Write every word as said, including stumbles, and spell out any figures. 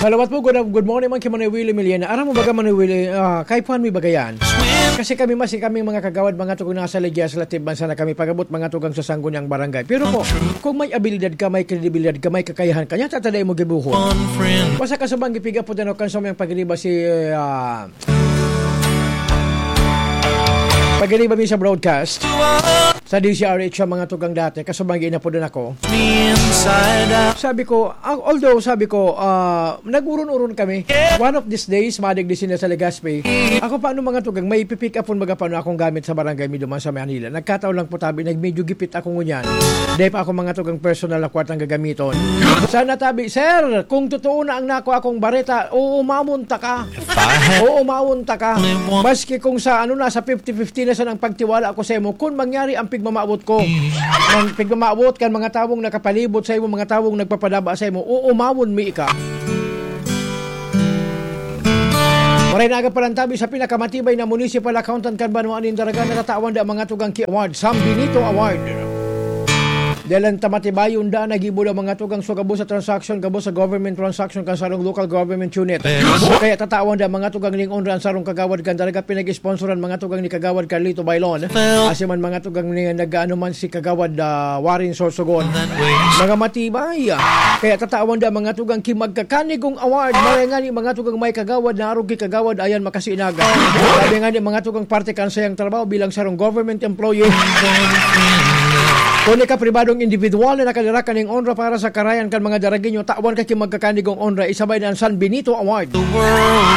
Salawat po, good, good morning man kay Manoy Willie Miliena. Aram mo baga, Manoy Willie, ah, kay Juan mi bagayan. Kasi kami, mas kami mga kagawad, mga tugang nasa Ligia, sa Latib, bansa na kami, pag-abot mga tugang sa Sangguniang Barangay. Pero po, kung may abilidad ka, may kredibilidad ka, may kakayahan ka, niya tatadai mo gibuhon. Basta kasubang gipiga po din ako kan sa mayang pagriba si, ah, pagriba mi sa broadcast. Sa D Z R H ang mga tugang dati, kasubang ginapodan ako. Sabi ko, ah, although sabi ko, ah, nag-uron-uron kami. One of these days, madigdi sila sa Legazpi. Ako, paano mga tugang, may pipick up pon baga paano akong gamit sa barangay mi duman sa Manila. Nagkataon lang po tabi, nag medyo gipit ako ngunyan. Dahil pa ako mga tugang personal na kwartang gagamiton. Sana tabi, sir, kung totoo na ang nako akong bareta, uumawon ta ka. Uumawon ta ka. Maski kung sa ano, nasa fifty fifty na sa nang pagtiwala ko sa imo, kung mangyari ang pigmamawot ko, ang pigmamawot kan mga tawong nakapalibot sa imo, mga tawong nagpapadaba sa imo, uumawon mi ika. Maray na aga palantabi sa pinakamatibay na municipal accountant kan banwaan nin Daraga, natatawan da mga tugang ki award, San Benito Award. Dalan ta matibayon da, nagibo da mga tugang sa gabos sa transaction, gabos sa government transaction kan sarong local government unit. Kaya tatawan da mga tugang ning onra ang sarong kagawad kan Daraga, pinag-sponsoran mga tugang ni Kagawad Carlito Bailon. Asi man mga tugang ni nag-ano man si Kagawad, ah, Warren Sorsogon. Mga matibay. Kaya tatawan da mga tugang ki magkakanigong award. Maray nga ni mga tugang may kagawad na arog ki kagawad ayan makasinag. Sabi nga ni mga tugang parte kan sayang trabaho bilang sarong government employee. Kung ika pribadong individual na nakalirakan ning onra para sa karayan kan mga Daragueño, tawan ka ki magkakanigong onra, isabay na ang San Benito Award.